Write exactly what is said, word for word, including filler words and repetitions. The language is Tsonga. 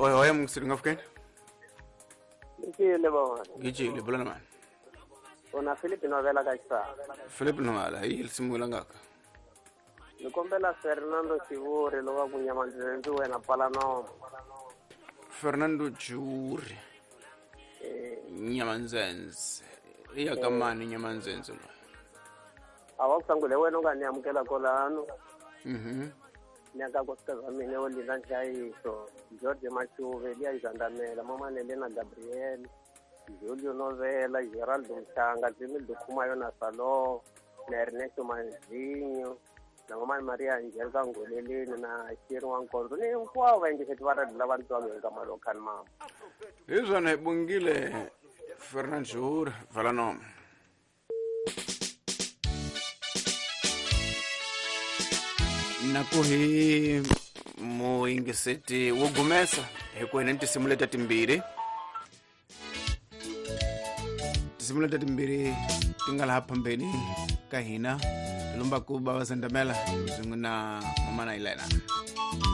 Oye oye mngisiri ngafukeni. Ngicile baba. Ngicile bulana man. Ona Philip Novela ka Philip Novela hi lisimu ngaka. Nikombela Fernando Chivuri lowa kunyamanzi wena Palano. Fernando Chivuri. Eh Nyamanzenze. Iya kamani Nyamanzenze lo. Awakusangule wena unganiyamukela kolano. Mhm. Nyaka nkosikazi wa mina wo Linda Nhlayiso, George Machuve, Eliya Zandamela, Mama Nelena Gabriel, Julio Novela, Geraldo Mshanga, Jimmy Khumayo na Salo, na Ernesto Manzinho, na Mama Maria Angelica Ngoleleni na Shiri wa Nkonzo ni hinkwavo vayingiseti va radio lava ni twaka hi nkama lowu khani mama. Hi swona hi bongile Fernand Chivuri Valanoma. Na ku hi muyingiseti wo gumesa hi ku hi ni tinsimu leta timbirhi tinsimu leta timbirhi ti nga laha phambeni ka hina lomba ku bava Zandamela swin'we na Mama na Elena.